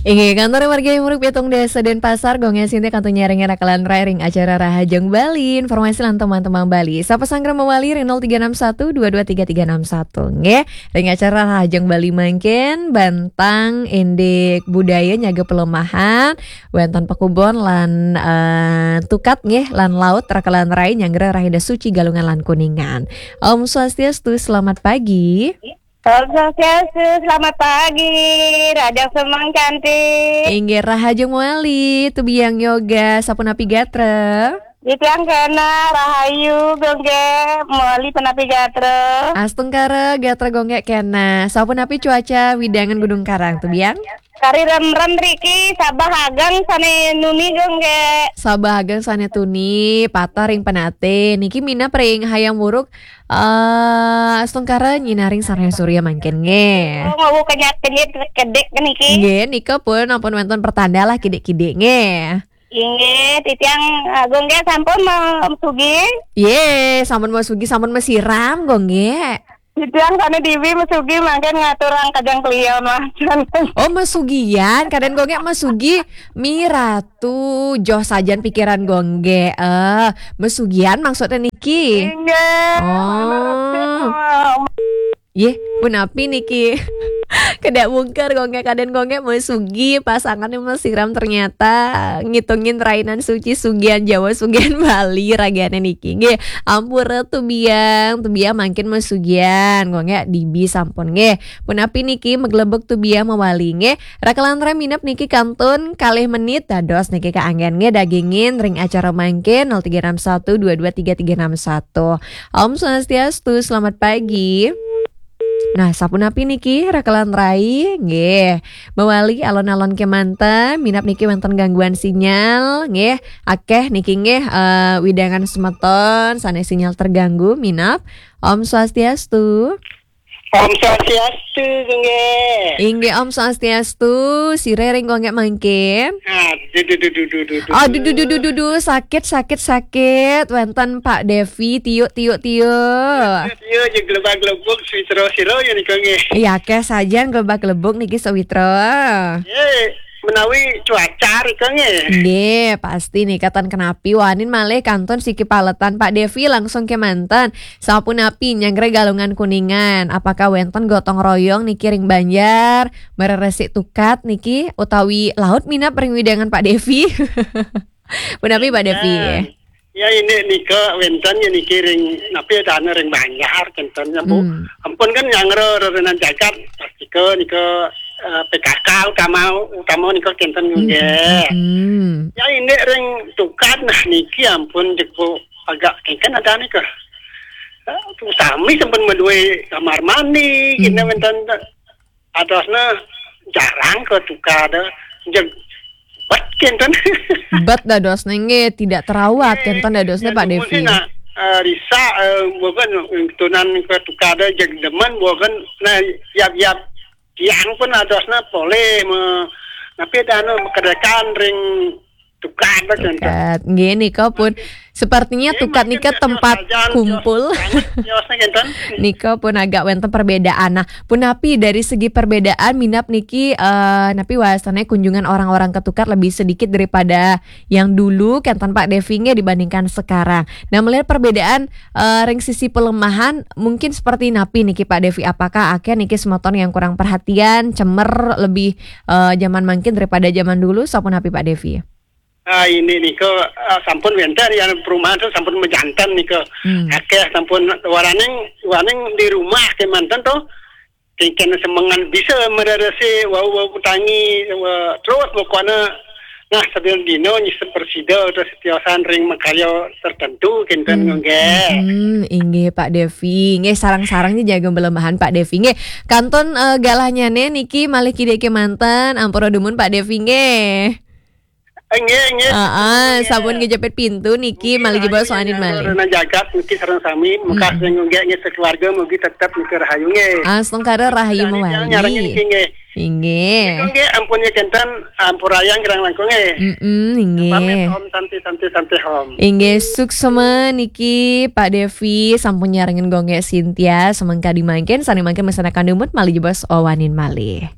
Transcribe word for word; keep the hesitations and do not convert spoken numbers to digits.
Inggih, kantor margi Muruk pitung Desa Denpasar, Gung Sinti kantun nyarengin rakalan rai ring acara Rahajeng Bali, informasi lan teman-teman Bali. Sapa sanggra mawali ring nol tiga enam satu dua dua tiga tiga enam satu, nggih. Ring acara Rahajeng Bali mangkin, bantang indik budaya nyaga pelemahan, wénten pakubon lan, eh, tukat nggih, lan laut rakalan rai nyanggra Rahina Suci Galungan lan Kuningan. Om Swastiastu, selamat pagi. Om Swastiastu, selamat pagi, Rahajeng Semeng cantik. Inggih, Rahajeng mawali, tubiang yoga, sapunapi gatra? Titiang kena, rahayu, Gung Gé, mawali punapi gatra? Astungkara, gatra Gung Gé kena. Sapunapi cuaca wewidangan Gunung Karang, tubiang? Kari remrem riki, sabeh ageng sané tuni, Gung Gé. Sabeh ageng sané tuni, pateh ring Penaté. Niki minab ring Hayam Wuruk, eh, astungkara nyinaring Cahya Surya mangkin nggih. Oh, ngawau kenyit-kenyit kedik niki. Nggih, nika pun ampun wénten pertanda lah kidik-kidik nggih. Inggih, titiang, eh, Gung Gé sampun ma-, masugi. Yé, sampun masugi, sampun masiram, Gung Gé. Titiang sané diwi masugi mangkin ngaturang kajeng klion, Mas. Oh, masugian, kadén Gung Gé masugi, mi ratu, joh sajan pikiran Gung Gé. Eh, masugian maksudnya niki. Inggih. Oh. Yé, punapi niki? Kedak mungker Gung Gé, kadén Gung Gé masugi, pasangannya masiram ternyata ngitungin rainan suci, sugian Jawa, sugian Bali, ragané niki. Nggih, ampura tubiang, tubiang mangkin masugian, Gung Gé dibi sampun nggih. Punapi niki maglebug tubiang mawali nggih. Rakalan rai minab niki kantun kalih menit dados niki kaanggén nggih dagingin ring acara mangkin nol tiga enam satu dua dua tiga tiga enam satu. Om Swastiastu, selamat pagi. Nah, sapunapi niki rakalan rai? Nggih. Mawali alon-alon kémanten, minab niki wénten gangguan sinyal, nggih. Akéh niki nggih, eh, wewidangan semeton sané sinyal terganggu, minab. Om Swastiastu. Om Swastiastu, Gung Gé. Inggih, Om Swastiastu, sira ring Gung Gé mangkin? Aduh, duh, duh, duh, duh, duh, duh. Aduh, duh, duh, duh, duh, duh, sakit, sakit, sakit. Wénten Pak Devi, tiuk, tiuk, tiuk. Iya, iya, ya gelebak-gelebuk, sawitra sira ya nika nggih. Iya, akéh sajan gelebak-gelebuk niki sawitra. Yé, menawi cuaca rika nggih. Nggih, pasti nika ten kenapi wanin malih kantun siki paletan Pak Devi langsung kémanten. Sapunapi nyanggra Galungan Kuningan, apakah wénten gotong royong niki ring banjar, mareresi tukat niki utawi laut minab ring wewidangan Pak Devi? Punapi Pak Devi? Ya, ini nika wénten ya niki ring napi dana ring banjar kénten ya, Bu. Hmm. Ampun kan nyanggra rerena jagat, pastika nika, eh, P K K utama, utama nika kénten Hmm, nggih. Hmm. Ya, ini ring tukat nah niki ampun jebuk agak kéngkén ada nika. Eh, sami sampun madué kamar mandi, Hmm. kena wénten adosna jarang ke tukat ada. Jeg bet kénten. Bet dadosna nggih tidak terawat, Eh, kénten dadosna ya, Pak Devi. Nah, eh, risa, eh, bukan tunan ke tukat ada jeg demen bukan nah yap-yap tiang pun adosna polih me, tapi ada anu kedekan ring tukat kénten. Tukat. Nggih, nika pun sepertinya Nggih, tukat mungkin nika tios tempat sajan, kumpul. Tios banget, tiosnya kénten. Nika pun agak wénten perbedaan. Nah, punapi dari segi perbedaan minab niki, eh, napi wastane kunjungan orang-orang ke tukat lebih sedikit daripada yang dulu, kénten Pak Devi nggih, dibandingkan sekarang. Nah, melihat perbedaan, eh, ring sisi pelemahan, mungkin seperti napi niki Pak Devi? Apakah akéh niki semeton yang kurang perhatian, cemer lebih, eh, zaman mangkin daripada zaman dulu, sapunapi Pak Devi? Ah, ini nika, ah, sampun wénten ya perumahan tu sampun majanten nika. Hmm. Akéh sampun waraning, waraning di rumah kémanten tu. Kéngkén semengan bisa mareresi wau-wau tangi, wau, terus pokoknya nah sambil dino nyisep persida terus tiosan ring makarya tertentu kénten Hmm. nggih. Hmm, inggih Pak Devi. Nggih, sareng-sareng niki jaga pelemahan Pak Devi. Nggih, kantun, eh, galahnyane niki malih kidik kémanten, ampura dumun Pak Devi nggih. Nggih, nggih. Heeh, sampun ngejepit pintu niki, malih jebos wanin malih. Rena jagat niki sareng sami, mekas Hmm. sing nggih, nggih, sekeluarga mugi tetep niki rahayu nggih. Astungkara rahayu Dari mawali. Nyarengin niki nggih. Inggih. Niki nggih, ampun ya kénten, ampurayang kirang langkung nggih. Mm-mm, inggih. Pamit, Om, santi, santi, santi, Om. Inggih, suksma niki Pak Devi sampun nyarengin Gung Gé Sintia, semengkadi mangkin, sane mangkin mesanakan dumut, malih jebos wanin malih.